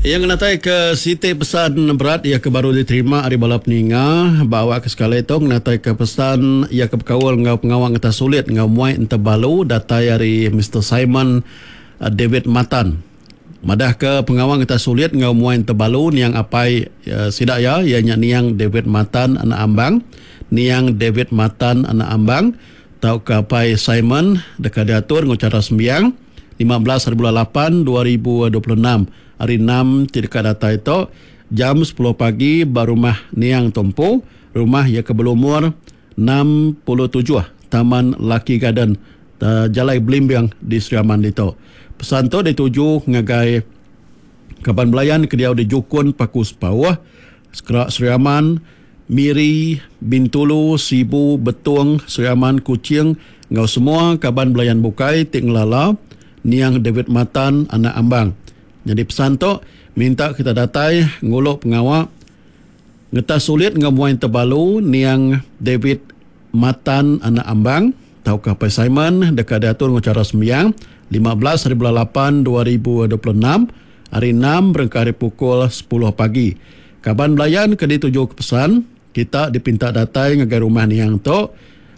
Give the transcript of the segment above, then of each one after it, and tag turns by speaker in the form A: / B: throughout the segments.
A: Iya ngenataika siti pesan berat iya ke baru diterima ari bala peninga ba awak ke sekali tu ngenataika pesan iya ke bekaul enggau pengawa ngetah sulit enggau muai entebalu datai ari Mister Simon David Matan. Madahka pengawa ngetah sulit enggau muai entebalu niang apai sida iya iya nya niang David Matan anak Ambang, niang David Matan anak Ambang tauka apai Simon deka diatur enggau chara sembiang. 15 haribulan lapan 2026 hari enam ti deka datai tu jam sepuluh pagi ba rumah Niang tu empu, rumah iya ke belumur 67 Taman Lucky Garden Jalai Belimbing di Sri Aman ditu. Pesan tu dituju ngagai kaban belayan ke diau di Jukun Paku Sepauh, Sekra Sri Aman, Miri, Bintulu, Sibu, Betong, Sri Aman, Kuching enggau semua kaban belayan bukai ti ngelala niang David Matan anak Ambang. Nyadi pesan tu minta kita datai ngulu pengawa ngetas sulit enggau muai tebalu niang David Matan anak Ambang tauka Apai Simon deka diatur enggau chara sembiang 15 hari bulan 8 2026 hari enam berengkah ari pukul sepuluh pagi. Kaban belayan ke dituju ke pesan, kita dipinta datai ngagai rumah niang tu.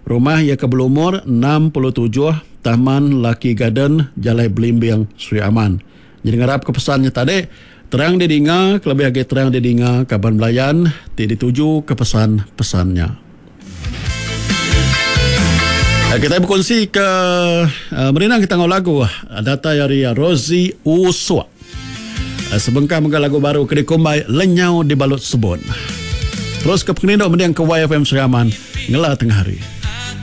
A: Rumah iya ke belumur 67 Taman Lucky Garden, Jalai Belimbing, Sri Aman. Nyadi ngarap ke pesan nya tadi terang didinga kelebih agi terang didinga kaban belayan ti dituju ke pesan-pesan nya. Kitai bekunsi ke merindang kita enggau lagu datai ari Rosie Usuk. Sebengkah mega lagu baru ke dikumbai Lenyau Dibalut Sebun. Terus ke pengerindu mending ke YFM Sri Aman ngela tengah hari.